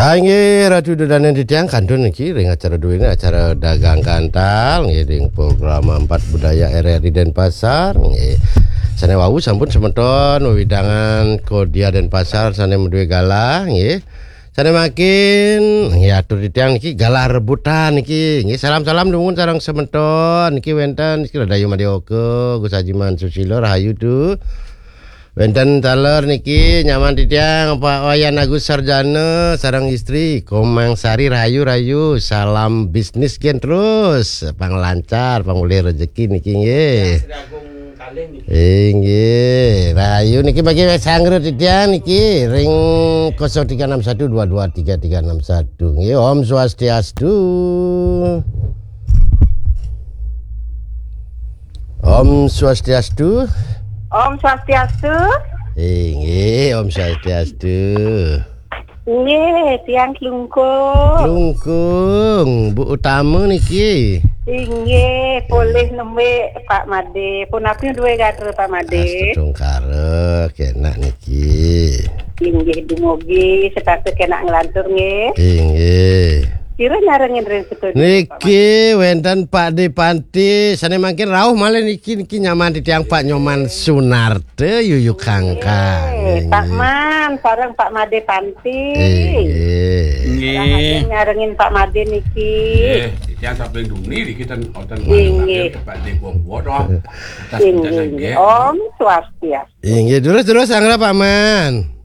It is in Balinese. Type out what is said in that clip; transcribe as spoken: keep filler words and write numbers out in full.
Ah, inggih, Ratu Dodanen titiang kantun niki ring acara duene, acara Dagang Gantal, nggih, ring program Empat Budaya R R I Denpasar, nggih. Sane wau sampun semeton wewidangan Kodia Denpasar sane madue galah, nggih. Sane mangkin, nggih, atur titiang niki galah rebutan niki, nggih. Salam-salam dumun sareng semeton niki wenten niki Radayu Madioka, Gus Ajiman Susilo, rahayu tu. Wenten taler niki nyaman titiang Pak Wayan Agus Sarjana sareng istri, Komang Sari, rahayu-rahayu. Salam bisnis gen terus, pang lancar, pang ulih rejeki niki nggih. Sri Agung Kalih niki. Inggih, rahayu niki bagi sanggra titiang niki ring kosong tiga enam satu dua dua tiga tiga enam satu. Nggih, Om Swastiastu. Om Swastiastu. Om Swastiastu. Inggih, Om Swastiastu. Nggih, tiang Klungkung. Klungkung, Bu Utama niki. Inggih, polih nembe Pak Made. Punapi duwe gatra Pak Made? Astungkara, kenak niki. Inggih, dumugi setata kenak nglantur nggih. Inggih. Sira nyarengin ring studio, Pak Made? Niki wenten Pak De Panti, sane mangkin rauh malih niki, niki nyaman titiang Pak Nyoman Sunarta, Yuyu Kangkang. Eh, Pak Inggih. Man, sareng Pak Made Panti. Inggih. Nggih. Sareng nyarengin Pak Made niki. Nggih, titiang samping duni niki ten wonten Inggih. Pak De Bobo to. Atas Inggih, penjelasan inggih. Nggih. Om Swastiastu. Inggih, terus-terus sanggra Pak Man.